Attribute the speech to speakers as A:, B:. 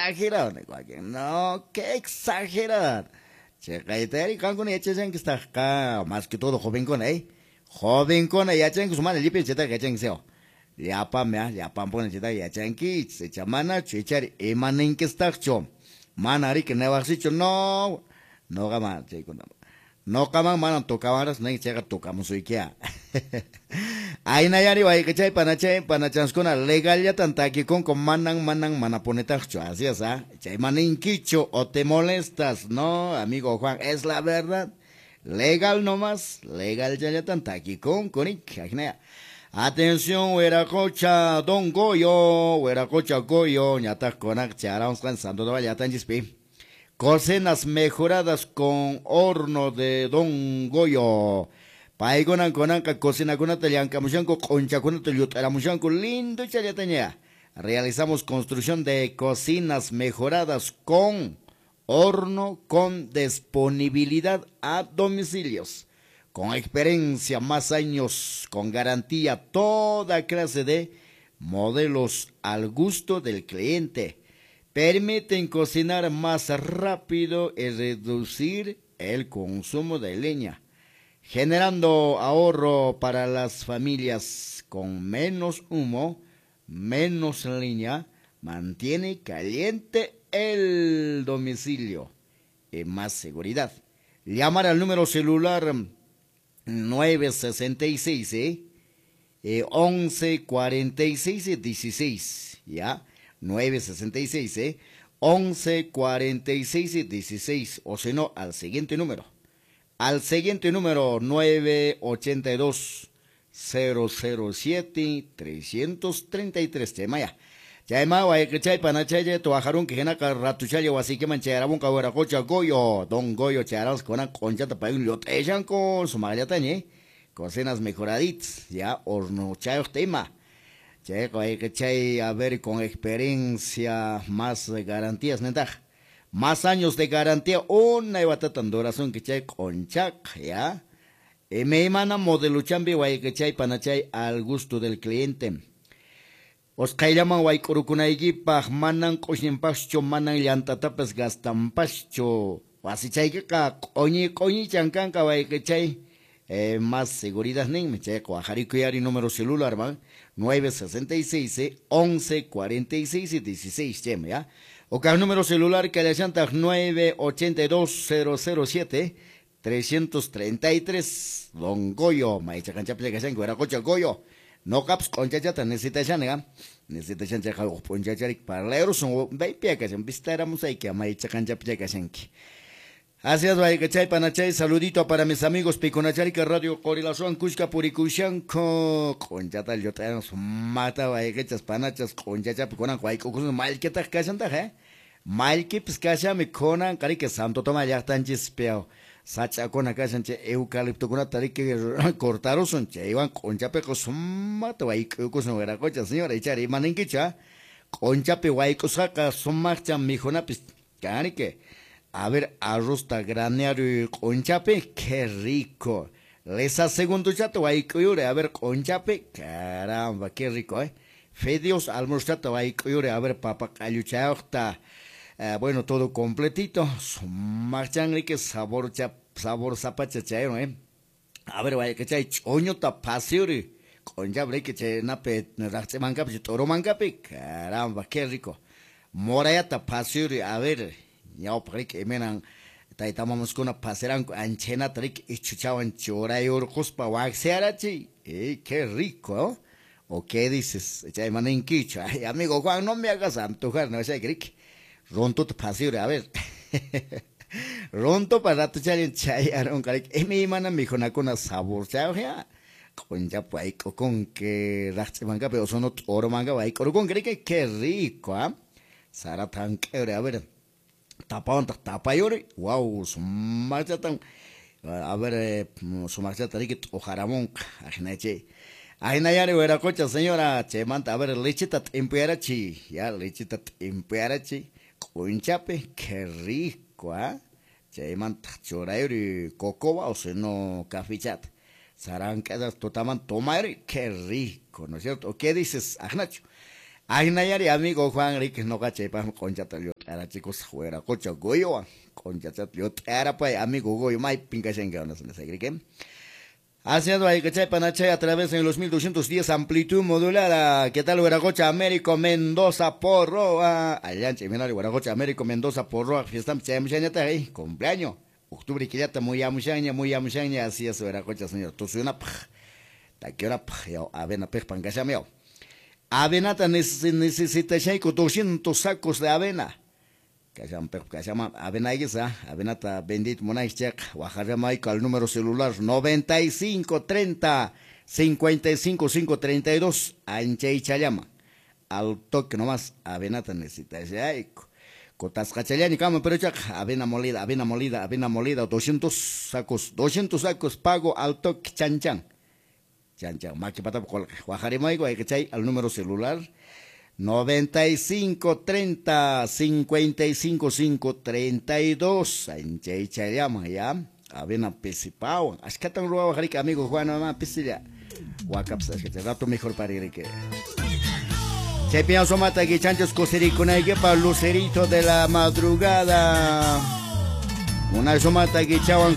A: Exagerado. No, qué exagerado. Chayqaytari qankuna yachashankistaqqa, más que todo jovenkuna, ¿eh? Jovenkuna yachankus mana llipin chaytaqa yachankis. Llapami, llapanpuni chaytaqa yachankichis. Icha manachu, ichari imaninkistaqchu. Mana riki niwaqsichu, no. Noqaman chaykuna. Noqaman manan tocawanras nin chayqa tocamusuykiya. Aynayari wayqichay panachay panachanskuna legallatan takikunku manan manan manapunitaqchu. Así es, ¿ah? Chay maninkichu o te molestas, no, amigo Juan, es la verdad. Legal nomás, legal chayllatan takikunku nik. Ajnaya. Atención, Huiracocha, Don Goyo, Huiracocha Goyo, ñataq kunak charawsqan Santo Tomás llaqtanchispi. Cocinas mejoradas con horno de Don Goyo. Paykunan kunanqa cocinakunata llankamushanku, q'unchakunata llut'aramushanku, lindo challataña. Realizamos construcción de cocinas mejoradas con horno con disponibilidad a domicilios. Con experiencia, más años, con garantía, toda clase de modelos al gusto del cliente. Permiten cocinar más rápido y reducir el consumo de leña, generando ahorro para las familias con menos humo, menos leña, mantiene caliente el domicilio y más seguridad. Llamar al número celular 966 11 46 16, ya, 966 11 46 16, o si no, al siguiente número. Al siguiente número, 982 007 333. Chaymaya. Chayma wayqichay panachaya tuajarunki hinaqa ratuchalla wasikiman chayaramunqa Huiracocha Goyo. Don Goyo chayaramus kunan q'unchata payun llut'ishanku sumaqllataña, cocinas mejoraditas, ya, hornochayuq ima. Chayqa wayqichay, a ver, con experiencia, más garantías, nentaq. Más años de garantía, una watatan durasunki chay q'unchaqa, ya. Imaymana modeluchampi wayqichay panachay al gusto del cliente. Osqayllaman wayk'urukunaykipaq manan q'ushñinpaschu, manan llantatapas gastanpaschu. Wasichaykiqa q'uñi q'uñichan kanqa wayqichay. Más seguridad ninmi chayqa wajarikuyari número celular man 966 11 46 16 chaymi, ya. O kaq número celular kallashantaq 982 007 333 Don Goyo, maychaqanchapi kashanki Huiracocha Goyo. Noqapas q'unchachata necesitashani, necesitashan chayqa huk p'unchacharik parlayrusun baypiya kashan vistaramusayki maychaqanchapi kashanki. Así es, wayqichay panachay, saludito para mis amigos Picunacharika Radio Qorilazuan Kushka Purikushanko. Q'unchata llut'ayan sumata wayqichas panachas q'unchachapi kunan wayk'ukusun mallkitaq kashantaq, mallkipis kashami kunan qariki Santo Tomás llaqtanchispi sach'akuna kashan chay eucaliptokunata riki cortarusun chaywan q'unchapiqa sumata wayk'ukusun Huiracocha señora ichari imaninkichu, q'unchapi wayk'usqaqa sumaqcha mikhunapis kanriki. A ver, arrozta granearuy q'unchapi, qué rico. Lesa segunduchata wayk'uyuri, a ver, q'unchapi, caramba, qué rico, Fideos almuerzochata wayk'uyuri, a ver, papa q'alluchayuqta. Bueno, todo completito. Sumaqchan riki sabor sabor zapacha chayron, A ver, wayqichay ch'uñuta phasiyuri, q'unchapi riki chaynapi raqch'imankapi t'urumankapi, caramba, qué rico. Morayata phasiyuri, a ver, ñawpaq riki imaynan tayta mamaskuna phasiranku anchhaynata riki ichhuchawan churayurquspa waqsiyarachiy, qué rico, ¿O qué dices? Chay maninkichu. Ay, amigo Juan, no me hagas antojar, no sé, riki. Runtuta phasiyuri, a ver. Runtu pa ratuchallan chayarunqa riki. Imaymana mikhunakuna saborchayuq ya. Q'unchapi wayk'ukunki raqch'imankapi o sono t'urumankapi wayk'urukunki riki, qué rico, Sarata hank'ayuri, a ver. Tapawantaq tapayuri, wow, sumaqchatan, a ver, sumaqchata riki t'uqaramunqa, ajnachay. Ajnayari Huiracocha señora, chaymanta, a ver, lechita t'impuyarachiy, ya, lechita t'impuyarachiy, q'unchapi, qué rico, Chaymanta churayuri cocoa o si no cafechata. Sarank'asas tutaman tomayuri, qué rico, ¿no es cierto? ¿O qué dices, ajnachu? Ajnayari amigo Juan riki noqa chaypaqmi q'unchata. Llut'arachikusaq wiraqocha Goyowan. Q'onchachata llut'arapay amigo Goyo maypin kashanki nasaqriki. Haciendo ahí Panachay a través de los 1210 amplitud modulada. ¿Qué tal, Huiracocha Américo Mendoza Porroa? Allancha, Imenario Huiracocha Américo Mendoza Porroa. Fiesta ahí, cumpleaños. Octubre killata muy amushaña, muy amushaña. Así es, Huiracocha, señor. Tusunapaj, takiunapaj, yau, avena pejpan kashameo. Avenata necesitashayku 200 sacos de avena. Kasham kashama avena igisa, avenata bendito munaychek, wajarramayku al número celular 95 30 55 5 32, anchaychallama. Al toque nomás, avenata necesitashayku. Kotasqachallani kama, pero chaq, avena molida, avena molida, avena molida, 200 sacos, 200 sacos, pago al toque, chan chan. Chan chan, maki patap qolqe. Wajarimayku ayqichay al número celular 95 30 55 5 32. Anchaychallama ya. Avena pisipawan. Ashkatan ruwawa jarika amigo Juan mamá pisilla. Wakaps ashkata rato mejor para ir que. Chaypiña somata que chanchos coserikunaykipa lucerito de la madrugada. Una somata que chawan